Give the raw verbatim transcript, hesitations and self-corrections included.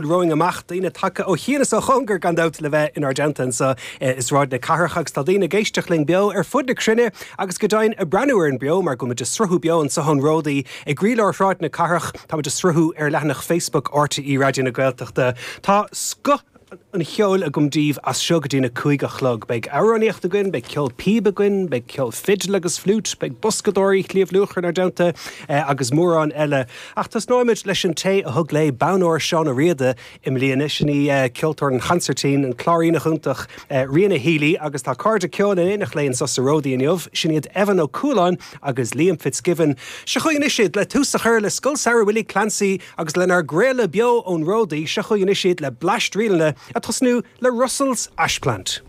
Romhainn amach daoine tagtha ó chian is ó chóngar gan dabht le bheith inár dteannta anseo i Sráid na Cathrach agus tá daoine ag éisteacht linn beo ar fud na cruinne agus go deimhin ag breathnú orainn beo mar go bhfuil muid ag sruthú beo anseo ón Ródaí i gcroílár Shráid na Cathrach tá muid ag sruthú ar leathanach Facebook RTÉ Raidió na Gaeltachta. Tá scoth an cheoil agam daoibh as seo go dtí na cúig a chlog. Beidh amhránaíocht againn, beidh ceol píob againn, beidh ceol fidil agus fliúit, beidh boscadóirí Shliabh Luachra inár dteannta agus mórán eile. Ach tosnóimid leis an té a thug léi bonn óir Seán Ó Riada i mbliana sin í ceoltóir an chansairtín an cláiríneach iontach Ríona Healy agus tá cairde ceoil in éineacht léi anseo sa Ródaí inniu, sin iad Evan Ó Cualáin agus Liam Fitzgibbon. Seo chugainn anois iad le tús a chur le Scoil Samhraidh Willie Clancy agus lenár gcraoladh beo ón Ródaí, seo chugainn anois iad le Bleaist Ríleanna ag tosnú le Russell's Ashplant.